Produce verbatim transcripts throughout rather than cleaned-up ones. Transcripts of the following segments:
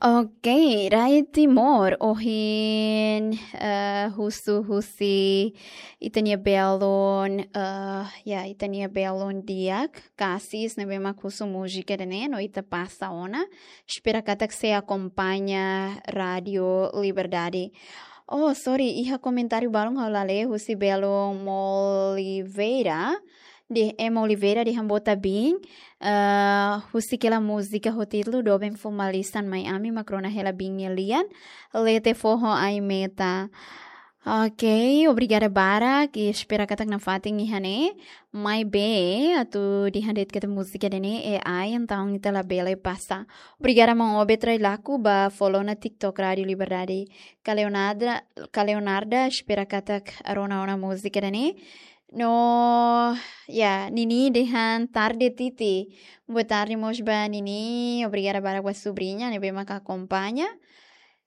Ok, rai Timor, ohin, eh, husu husi ita-nia belun, eh, ya, ita-nia belun di'ak, Kasis, ne'ebé mak husu múzika ida-ne'e, no ita pasa ona. Espera katak sei akompaña Rádio Liberdade. Oh, sorry, iha komentáriu balun ha'u la lee, husi belun Moliveira, de Emma Oliveira dehan bota bin, eh, husik hela múzika ho títulu Doben Fó Malisan Mai Ami, mak rona hela bin nia lian, Lete Fó ho Ai Meta. Ok, obrigada barak, i espera katak nafatin iha ne'e. Maibé, atu dehan de'it katak múzika ida-ne'e A I, entaun ita labele pasa. Obrigada maun Obed Railaku ba follow ona TikTok Rádio Liberdade. Ka Leonarda, ka Leonarda, espera katak rona ona múzika ida-ne'e. No, ya, Nini dehan tarde Titi. Boa tarde mós ba Nini. Obrigada barak ba subriña ne'ebé mak akompaña.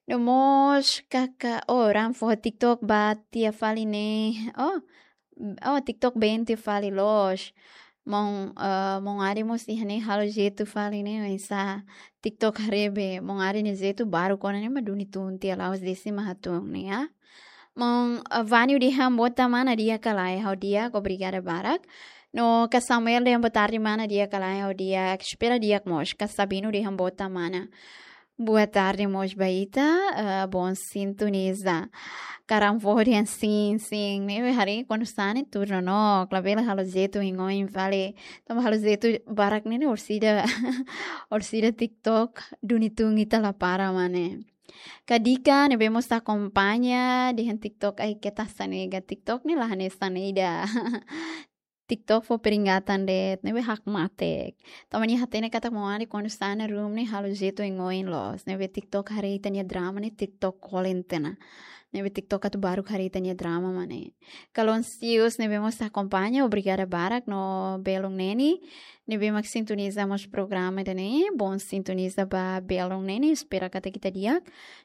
No mós kaka, oh, ran fó TikTok ba tia fali ne'e. Oh, oh, TikTok ben tia fali loos. Maun, eh, maun Adi mós iha ne'e halo jeitu fali ne'e, oinsá TikTok haree be, maun Adi nia jeitu baru kona ne'e mak duni tun tiha la'ós desi mak hatun ne'e, ya. Maun, eh, Vani dehan bota mana di'ak ka lae, ha'u di'ak, obrigada barak. No ka Samuel dehan boa tarde mana di'ak ka lae, ha'u di'ak, espera di'ak mós, ka Sabino dehan bota mana. Boa tarde mós ba ita, eh, bom sintoniza. Ka Ran Fó dehan sin, sin, ne'ebé haree kuandu sá ne'e tuur no, no, labele halo jeitu oin-oin fali. Tanba halo jeitu barak ne'e, ne'e orsida, orsida TikTok duni tun ita la para mak ne'e. Ka Dika ne'ebé mós akompaña dehan TikTok ai keta sanega, TikTok ne'e la hanesan ida. TikTok fó peringatan de'it, ne'ebé hakmatek. Tanba nia hatene katak maun Adi kuandu sá iha room ne'e halo jeitu oin-oin loos. Ne'ebé TikTok haree ita-nia drama ne'e TikTok kolen tiha ona. Ne'ebé TikTok atu baru haree ita-nia drama mak ne'e. Ka Lonsius ne'ebé mós akompaña, obrigada barak no belun Neni. Ne'ebé mak sintoniza mós programa ida-ne'e, bom sintoniza ba belun Neni, espera katak ita di'ak.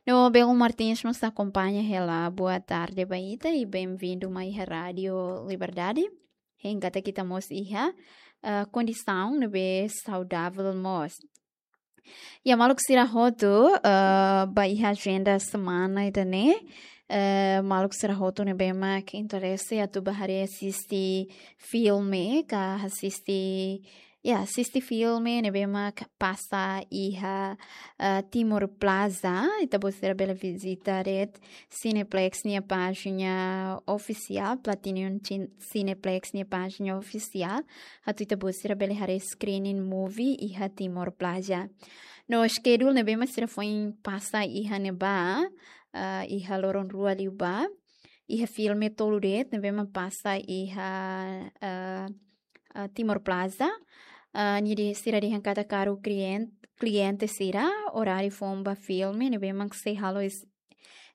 No belun Martins mós akompaña hela, boa tarde ba ita i bem-vindo mai iha Rádio Liberdade. Hein katak ita mós iha, eh, kondisaun ne'ebé saudavel mós. Ya maluk sira hotu, eh, ba iha ajenda semana ida-ne'e, eh, maluk sira hotu ne'ebé mak interese atu ba haree asiste filme, ka asiste, ya, asiste filme ne'ebé mak pasa iha, eh, Timor Plaza, ita-boot sira bele vizita de'it Cineplex nia pájina ofisiál, Platinum Cin-, Cineplex nia pájina ofisiál, atu ita-boot sira bele haree screening movie iha Timor Plaza. No schedule ne'ebé mak sira foin pasa iha ne'ebá, eh, iha loron rua liubá, iha filme tolu de'it ne'ebé mak pasa iha, eh, eh, Timor Plaza. Eh, nia dehan, sira dehan katak karik klien-, kliente sira, oráriu foun ba filme ne'ebé mak sei halo es-,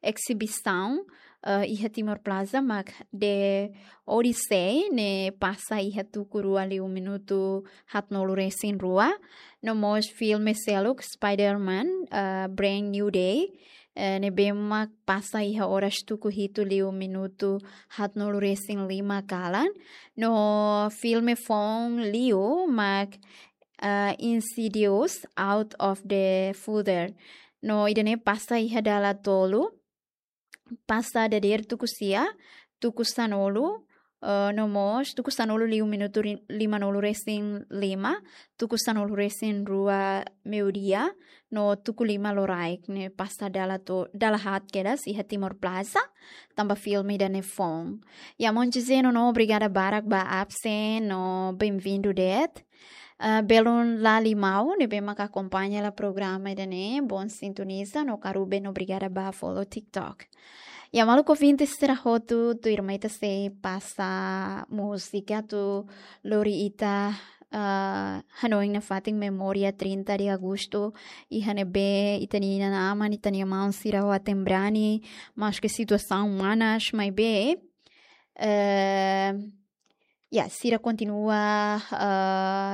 exibisaun, eh, iha Timor Plaza mak The Odyssey ne'e pasa iha tuku rua liu minutu haatnulu resin rua. No mós filme seluk Spider-Man, eh, Brand New Day, eh, ne'ebé mak pasa iha oras tuku hitu liu minutu haatnulu resin lima kalan. No filme foun liu mak, eh, Insidious Out of the Father. No ida-ne'e pasa iha dala tolu, pasa dadeer tuku sia, tuku sanulu, eh, no mós, tuku sanulu liu minutu ri-, limanulu resin lima, tuku sanulu resin rua meiudia, no tuku lima loraik ne'e pasa dala to-, dala haat kedas iha Timor Plaza, tanba filme ida-ne'e foun. Ya maun José no, no, obrigada barak ba absen, no bem-vindo de'it. Ah, belun Lali Mau, ne'ebé mak akompaña hela programa ida-ne'e, bom sintoniza, no ka Ruben, obrigada ba follow TikTok. Ya maluk ouvinte sira hotu, tuirmai ita sei pasa múzika atu lori ita, ah, hanoin nafatin memória trinta de agosto, iha ne'ebé ita-nia inan-aman, ita-nia maun sira ho aten-brani, maske situasaun manas, maibé, eh, ya, sira kontinua, ah,